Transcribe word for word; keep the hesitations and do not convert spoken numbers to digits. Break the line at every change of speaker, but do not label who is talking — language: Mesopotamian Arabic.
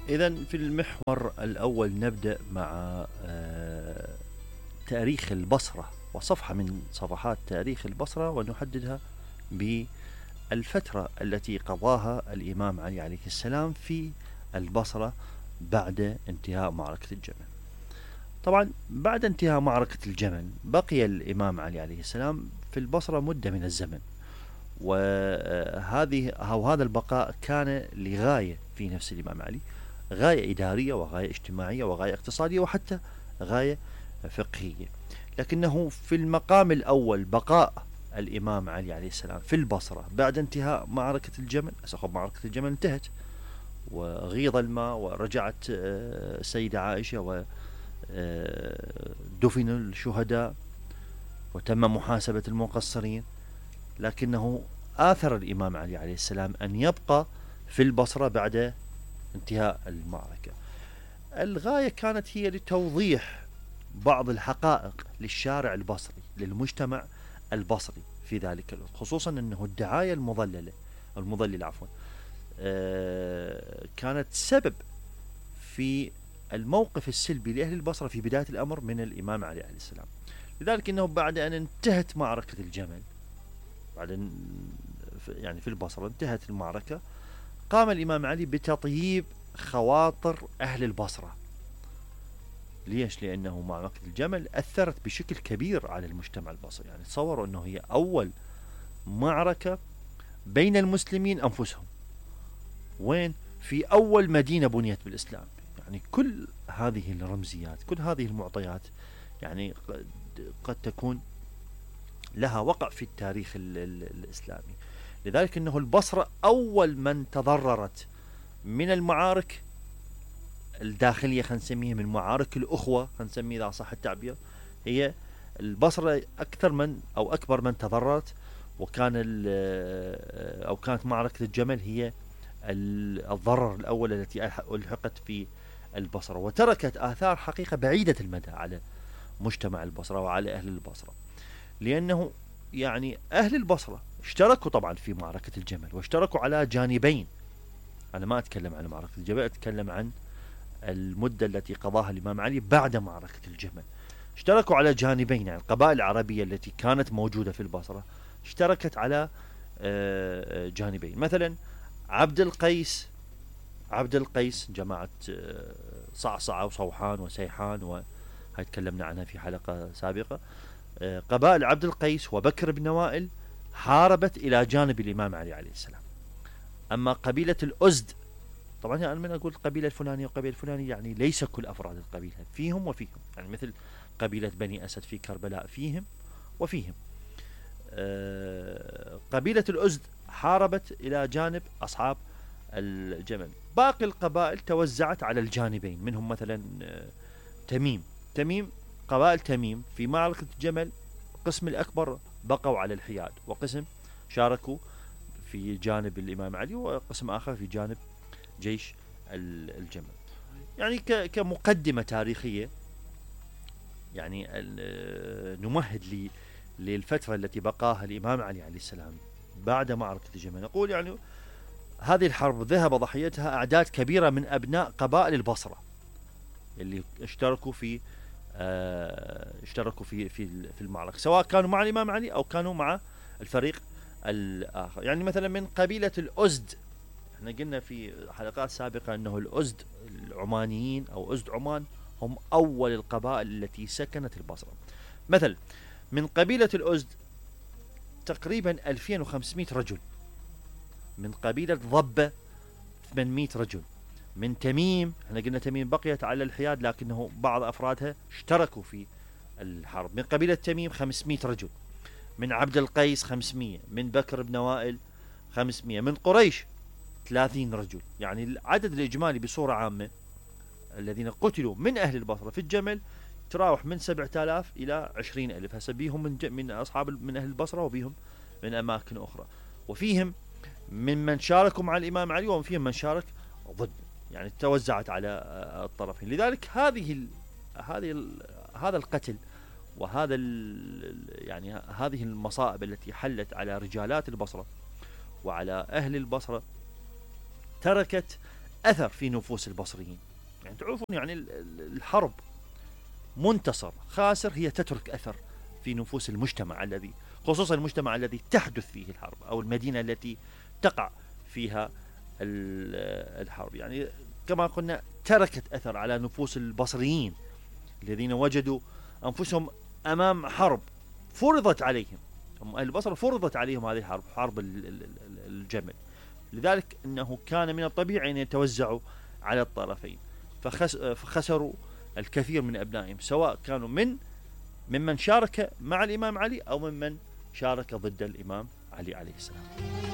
إذا في المحور الأول نبدأ مع تاريخ البصرة وصفحة من صفحات تاريخ البصرة، ونحددها بالفترة التي قضاها الإمام علي عليه السلام في البصرة بعد انتهاء معركة الجمل. طبعا بعد انتهاء معركة الجمل بقي الإمام علي عليه السلام في البصرة مدة من الزمن، وهذه أو هذا البقاء كان لغاية في نفس الإمام علي، غاية إدارية وغاية اجتماعية وغاية اقتصادية وحتى غاية فقهية. لكنه في المقام الأول بقاء الإمام علي عليه السلام في البصرة بعد انتهاء معركة الجمل. أسخب معركة الجمل انتهت وغيض الماء ورجعت السيدة عائشة ودفن الشهداء وتم محاسبة المقصرين، لكنه آثر الإمام علي عليه السلام أن يبقى في البصرة بعد انتهاء المعركة. الغاية كانت هي لتوضيح بعض الحقائق للشارع البصري، للمجتمع البصري في ذلك الوقت، خصوصا أنه الدعاية المضللة المضللة عفوا كانت سبب في الموقف السلبي لأهل البصرة في بداية الأمر من الإمام علي عليه السلام. لذلك أنه بعد أن انتهت معركة الجمل، بعد يعني في البصرة انتهت المعركة، قام الإمام علي بتطييب خواطر أهل البصرة. ليش؟ لأنه معركة الجمل أثرت بشكل كبير على المجتمع البصري. يعني تصوروا أنه هي أول معركة بين المسلمين أنفسهم، وين؟ في أول مدينة بنيت بالإسلام. يعني كل هذه الرمزيات، كل هذه المعطيات يعني قد تكون لها وقع في التاريخ الإسلامي. لذلك أنه البصرة أول من تضررت من المعارك الداخلية، خلينا نسميها من معارك الأخوة، خلينا نسميه إذا صح التعبير، هي البصرة أكثر من أو أكبر من تضررت. وكان أو كانت معركة الجمل هي الضرر الأول التي ألحقت في البصرة، وتركت آثار حقيقة بعيدة المدى على مجتمع البصرة وعلى أهل البصرة. لأنه يعني أهل البصرة اشتركوا طبعا في معركة الجمل، واشتركوا على جانبين. أنا ما أتكلم عن معركة الجمل، أتكلم عن المدة التي قضاها الإمام علي بعد معركة الجمل. اشتركوا على جانبين، يعني القبائل العربية التي كانت موجودة في البصرة اشتركت على جانبين. مثلا عبد القيس عبد القيس جماعة صعصعة وصوحان وسيحان، وهي تكلمنا عنها في حلقة سابقة. قبائل عبد القيس وبكر بن وائل حاربت إلى جانب الإمام علي عليه السلام. أما قبيلة الأزد، طبعا أنا من أقول القبيلة الفلانية وقبيلة الفلانية، يعني ليس كل أفراد القبيلة، فيهم وفيهم. يعني مثل قبيلة بني أسد في كربلاء، فيهم وفيهم. أه قبيلة الأزد حاربت إلى جانب أصحاب الجمل. باقي القبائل توزعت على الجانبين، منهم مثلا تميم تميم قبائل تميم في معركة الجمل القسم الأكبر بقوا على الحياد، وقسم شاركوا في جانب الإمام علي، وقسم آخر في جانب جيش الجمل. يعني كمقدمة تاريخية، يعني نمهد للفترة التي بقاها الإمام علي عليه السلام بعد معركة الجمل. نقول يعني هذه الحرب ذهب ضحيتها أعداد كبيرة من أبناء قبائل البصرة اللي اشتركوا في اه اشتركوا في في في المعركة، سواء كانوا مع الإمام علي أو كانوا مع الفريق الآخر. يعني مثلا من قبيلة الأزد، احنا قلنا في حلقات سابقة أنه الأزد العمانيين أو أزد عمان هم أول القبائل التي سكنت البصرة. مثل من قبيلة الأزد تقريبا ألفين وخمسمائة رجل، من قبيلة ضبة ثمانمائة رجل، من تميم، احنا قلنا تميم بقيت على الحياد لكنه بعض أفرادها اشتركوا في الحرب، من قبيلة تميم خمسمائة رجل، من عبد القيس خمسمائة، من بكر بن وائل خمسمائة، من قريش ثلاثين رجل. يعني العدد الإجمالي بصورة عامة الذين قتلوا من أهل البصرة في الجمل تراوح من سبعة آلاف إلى عشرين ألف. هسه بيهم من, من أصحاب من أهل البصرة، وبيهم من أماكن أخرى، وفيهم من من شاركوا مع الإمام علي، وفيهم من شارك ضد. يعني توزعت على الطرفين. لذلك هذه ال هذه ال هذا القتل وهذا يعني هذه المصائب التي حلت على رجالات البصرة وعلى أهل البصرة تركت أثر في نفوس البصريين. يعني تعرفون يعني الحرب منتصر خاسر هي تترك أثر في نفوس المجتمع الذي، خصوصا المجتمع الذي تحدث فيه الحرب أو المدينة التي تقع فيها الحرب. يعني كما قلنا تركت أثر على نفوس البصريين الذين وجدوا أنفسهم أمام حرب فرضت عليهم. أهل البصرة فرضت عليهم هذه الحرب، حرب الجمل. لذلك أنه كان من الطبيعي أن يتوزعوا على الطرفين، فخسروا الكثير من أبنائهم، سواء كانوا من ممن شارك مع الإمام علي أو ممن شارك ضد الإمام علي عليه السلام.